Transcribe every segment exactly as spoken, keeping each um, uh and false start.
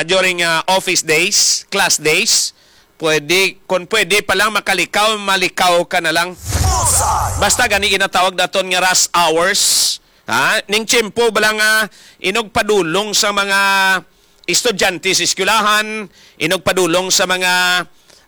during, ah, office days, class days, pwede, kung pwede pa lang makalikaw, malikaw ka na lang. Basta gani ginatawag naton nga rush hours, ha? Ning tiyempo bala nga inugpadulong sa mga estudyante sa eskwelahan, inugpadulong sa mga,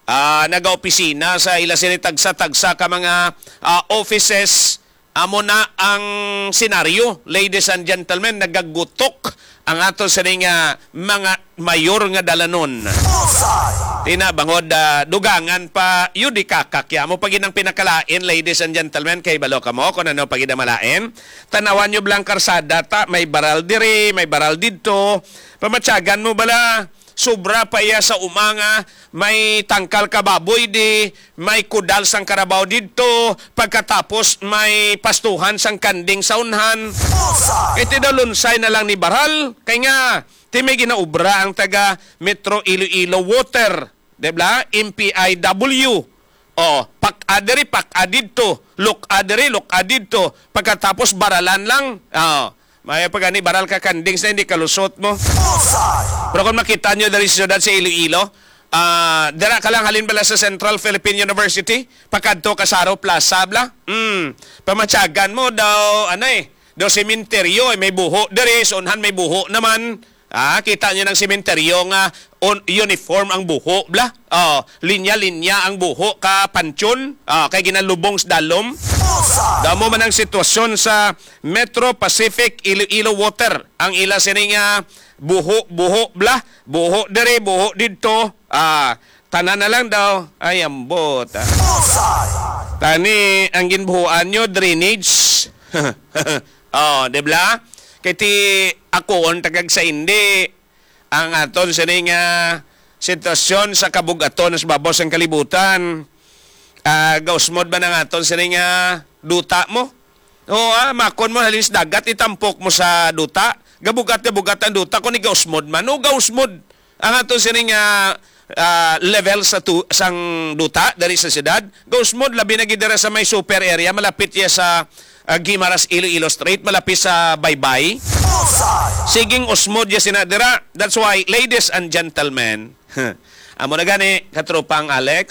ah, nagaopisina sa ila sini tagsa-tagsa ka mga, ah, offices. Amo na ang senaryo, ladies and gentlemen, nagagutok ang ato sini nga mga mayor nga dalanon. Bullseye! Tina, bangod, ah, dugangan pa, yun di kakakya mo pag inang pinakalain, ladies and gentlemen, kay balo ka mo kung ano pag inang malain. Tanawan nyo blang karsada ta, may baral diri, may baral didto. Pamatyagan mo bala, sobra pa iya sa uma nga may tangkal ka baboy di, may kudal sang karabaw didto, pagkatapos may pastuhan sang kanding sa unhan. Bullseye! Iti daw lunsay na lang ni baral, kay nga, ti may ginaobra ang taga Metro Iloilo Water, di ba? M P I W. O, pak-a diri, pak-a didto, luk-a diri, luk-a didto, pagkatapos baralan lang. O, may pa gani, baral ka kanding sa hindi kalusot mo. Bullseye! Pero kung makita nyo diri sa siyudad sa Iloilo, ah, dira ka lang halin bala sa Central Philippine University, pakadto ka Saro Plaza, bla? Hmm, pamatyagan mo daw, ano eh, daw sementeryo, eh, may buho diri, sa unhan may buho naman. Ah, kita nyo ng sementeryo nga un-, uniform ang buho, bla? Oh, linya-linya ang buho ka pantyon, ah, kay ginalubong sa dalom. Bullseye! Damo man ang sitwasyon sa Metro Pacific Iloilo Water. Ang ila sini nga buho, buho, bla? Buho diri, buho didto. Ah, tanan na lang daw. Ay, ambot, ah. Bullseye! Tani, ang ginbuhuan nyo, drainage. Oh, di bla? Kay ti ako, on tagag sa hindi, ang aton sini nga sitwasyon sa kabug-aton sa babaw sang kalibutan. Ah, gausmod ba nang aton sini nga duta mo? Oo, ah, makon mo halin sa dagat, itampok mo sa duta. Gabugat, gabugat ang duta kung igausmod man. O gausmod ang aton sini nga, ah, level sa tu-, sang duta diri sa siyudad. Gausmod, labi na gid dira sa may super area, malapit iya sa, ah, Guimaras Iloilo Strait, malapit sa Baybay. Bullseye! Siging usmod ya sina dira. That's why, ladies and gentlemen, amo na gani, katropang Alex,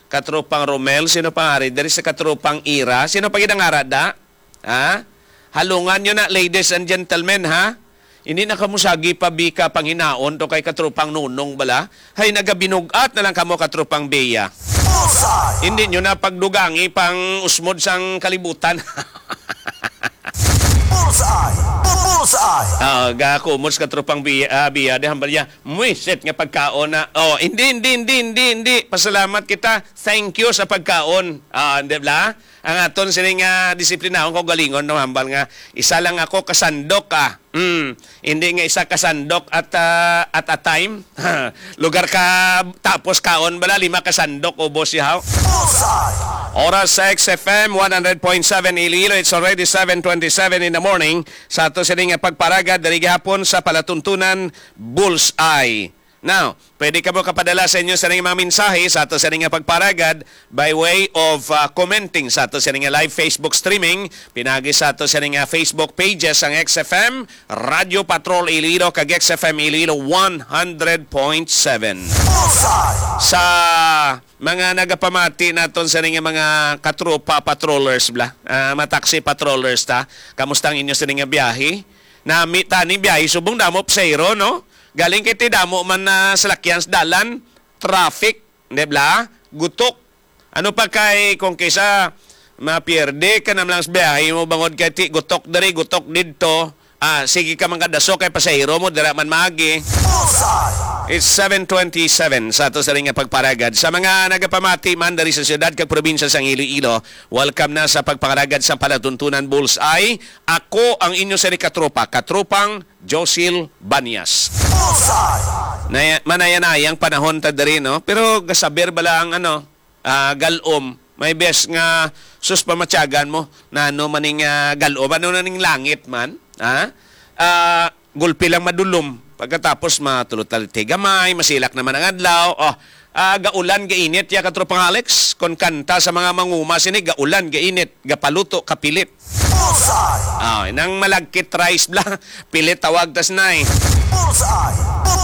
katropang Romel, sino pa nga ari? Diri sa katropang Ira, sino pa gid ang ara da? Ha? Halungan nyo na, ladies and gentlemen, ha? Hindi na kamo sagi pa bika panghinaon to kay katropang Nunong bala. Hay, nagabinug-at na lang kamo, katropang Bea. Bullseye! Hindi nyo na pagdugangi pang usmod sang kalibutan. Bullseye! Bullseye! Ah, gakumos, katropang Bea, ah, Bea, di hambal niya, mwisit nga pagkaon na. Oh, hindi, hindi, hindi, hindi, hindi. Pasalamat kita. Thank you sa pagkaon. Ah, di ba? Ang aton sini nga disiplinahon kaugalingon, no, hambal nga, "Isa lang ako kasandok, ah." Mm, hindi nga isa kasandok at, ah, at a time. Lugar ka tapos kaon bala, lima kasandok, ubos siya. Bullseye! Oras sa X F M one hundred point seven Iloilo, it's already seven twenty-seven in the morning. Sa ato sini nga pagparagad, diri gihapon sa palatuntunan, Bullseye. Now, pwede kamo kapadala sa inyo sa mga mensahe sa ato sa nga pagparagad by way of, uh, commenting sa ato sa nga live Facebook streaming, pinagi sa ato sa nga Facebook pages ang X F M, Radyo Patrol Iloilo, kag X F M Iloilo one hundred point seven. Bullseye! Sa mga nagapamati naton sa nga mga katropa patrollers, bla, ah, mga taxi patrollers ta, kamusta ang inyo sa nga biyahe? Nami taning biyahe subong damo pasahero, no? Galing kay ti damo man na salakyan sa dalan, traffic, di bla? Gutok. Ano pa kay kung kaysa mapierde ka na lang sa biyahe mo bangod kay ti gutok diri, gutok didto. Ah, sige ka man kadaso kay pasahero mo, dira man maagi. Bullseye! It's seven twenty-seven sa ato sa nga pagparagad. Sa mga nagapamati man diri sa siyudad kag probinsya sang Iloilo, welcome na sa pagpangaragad sa palatuntunan Bullseye. Ako ang inyo sa katropa, katropang Josil Banyas. Bullseye! Naya-, manayanayang panahon ta diri, no? Pero gasaber bala ang, ano, ah, galom. May bes nga, sus, pamatyagan mo, nano man ning, ah, galom, ano na ning langit man, ha? Ah, gulpi lang madulom. Pagkatapos matulot-talit gamay, masilak naman ang adlaw. Oh, ah, gaulan, gainit, ya katropang Alex. Kon kanta sa mga manguma sini, gaulan, gainit, gapaluto, kapilit. Bullseye! Ah, nang malagkit rice bla, pilit tawag tas nay. Bullseye! Bu-,